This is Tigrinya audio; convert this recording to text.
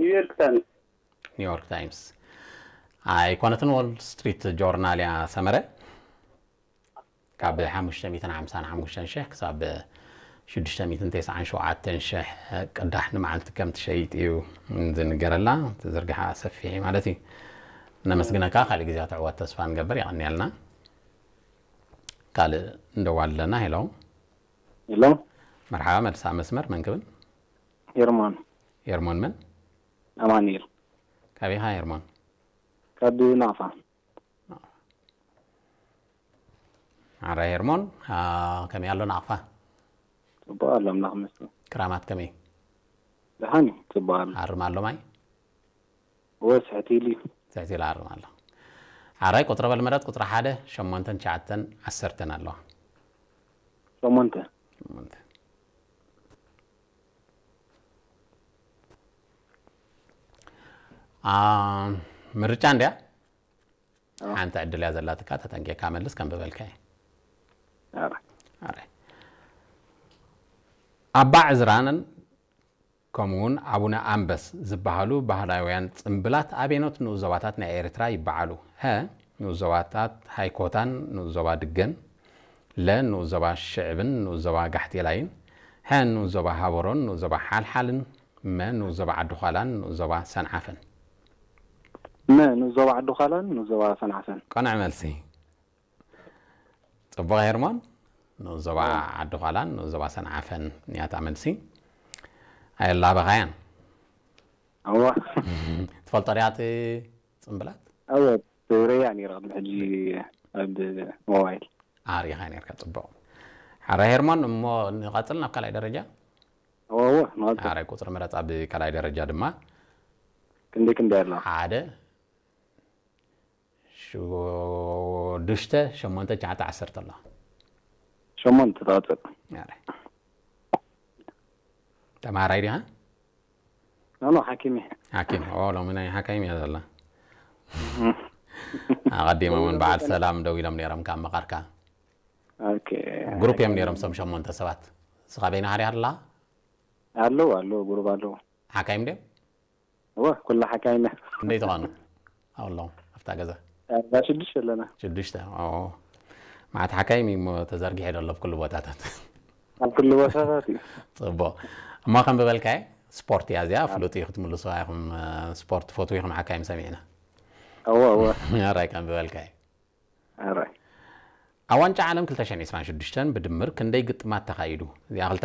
ኒውዮርክ ታይምስ። ኒውዮርክ ታይምስ ኣይኮነትን፣ ዎል ስትሪት ጆርናል እያ ሰመረ። ካብ ሓሙሽተ ሚእትን ሓምሳን ሓሙሽተን ሽሕ ክሳብ ሽዱሽተ ሚእትን ተስዓን ሸውዓተን ሽሕ ቅዳሕ ንመዓልቲ ከም ትሸይጥ እዩ ዝንገረላ። ዝርግሓ ሰፊሕ እዩ ማለት እዩ። ነመስግነካ። ካልእ ግዜ ትዕወት ተስፋ ንገብር። የቐንየልና። ካልእ እንደዋል ኣለና። ሄሎ። ሄሎ። መርሓባ፣ መልሳ መስመር መን ክብል? ሄርሞን። ሄርሞን መን? ኣማኑኤል። ካበይ ኢኻ ሄርሞን? ካብ ናቕፋ። ኣረ ሄርሞን፣ ከመይ ኣሎ ናቕፋ? ጽቡቕ ኣሎ፣ ኣምላኽ ይመስገን። ክራማት ከመይ? ደሓን እዩ፣ ጽቡቕ ኣሎ። ኣርም ኣሎ ማይ? እወ፣ ስሕት ኢሉ እዩ። ስሕት ኢሉ ኣርም ኣሎ። ሓራይ ቁጽሪ በል ምረጽ፣ ቁጽሪ ሓደ፣ ሸሞንተን ትሽዓተን ዓሰርተን ኣለዋ። ሸሞንተ። ሸሞንተ። ምርጫ እንድያ። ሓንቲ ዕድል እያ ዘላትካ፣ ተጠንቂቕካ መልስ፣ ከንብበልካ እየ። ኣረ። ኣረ። ኣባ ዕዝራን ከምኡውን ኣቡነ ኣንበስ ዝበሃሉ ባህላውያን ጽምብላት ኣበየኖት ንኡስ ዞባታት ናይ ኤርትራ ይበዓሉ? ሀ፣ ንኡስ ዞባታት ሃይኮታን ንኡስ ዞባ ድገን፣ ለ፣ ንኡስ ዞባ ሽዕብን ንኡስ ዞባ ጋሕቴላይን፣ ሐ፣ ንኡስ ዞባ ሃበሮን ንኡስ ዞባ ሓልሓልን፣ መ፣ ንኡስ ዞባ ዓዲዃላን ንኡስ ዞባ ሰንዓፈን። መ፣ ንኡስ ዞባ ዓዲዃላን ንኡስ ዞባ ሰንዓፈን። ቅኑዕ መልሲ። ጽቡቕ ሄርሞን፣ ንኡስ ዞባ ዓዲዃላን ንኡስ ዞባ ሰንዓፈን እያ እታ መልሲ። ኣየላበኻያን። እወ። ትፈልጦ ዲኻ እቲ ጽምብላት? እወ፣ ትርእያ ነይረ ቅድሚ ሕጂ ኣብ ሞባይል። ኣሪኻ ነርካ፣ ጽቡቕ። ሓራይ ሄርሞን፣ እሞ ንቐጽል ናብ ካልኣይ ደረጃ? እወ፣ እወ፣ ንቐጽል። ሓራይ ቁጽሪ ምረጽ ኣብ ካልኣይ ደረጃ ድማ። ክንደይ ክንደይ ኣሎ? ሓደ፣ ሽዱሽተ፣ ሸሞንተ፣ ትሽዓተ፣ ዓሰርተ ኣሎ። ሸሞንተ ትቐጽል። ኣረ። ተምሃራይ ዲኻ? ኖ፣ ኖ፣ ሓኪም እየ። ሓኪም፣ ኦ፣ ሎሚ ናይ ሓካይም እያ ዘላ። ኣቐዲሞም እውን በዓል ሰላም ደው ኢሎም ነይሮም ካብ መቓርካ። ኦኬ። ግሩፕ እዮም ነይሮም፣ ሰም ሸሞንተ ሰባት። ንስኻ በይንኻ ዲኻ ኣለኻ? ኣለዉ፣ ኣለዉ፣ ግሩፕ ኣለዉ። ሓካይም ድዮም? እወ፣ ኩላ ሓካይም እያ። ክንደይ ትኾኑ? ኣለዉ፣ ኣብታ ገዛ? ኣርባ ሽዱሽተ ኣለና። ሽዱሽተ፣ ኦ። መዓት ሓካይም እዩ እሞ ተዘርጊሑ ዘሎ ኣብ ኩሉ ቦታታት። ኣብ ኩሉ ቦታታት እዩ። ጽቡቕ። እሞ ከም ዝበልካየ፣ ስፖርት እያ እዚኣ፣ ፍሉጥ እዩ ክትምልሱዋ ኢኹም፣ እ፣ ስፖርት ትፈትዉ ኢኹም ሓካይም ሰሚዕና። እወ፣ እወ። ኣራይ ከም ዝበልካየ። ኣራይ። ኣብ ዋንጫ ዓለም ክልተ ሽሕን ዕስራን ሽዱሽተን ብድምር ክንደይ ግጥማት ተኻይዱ? እዚኣ ክልተ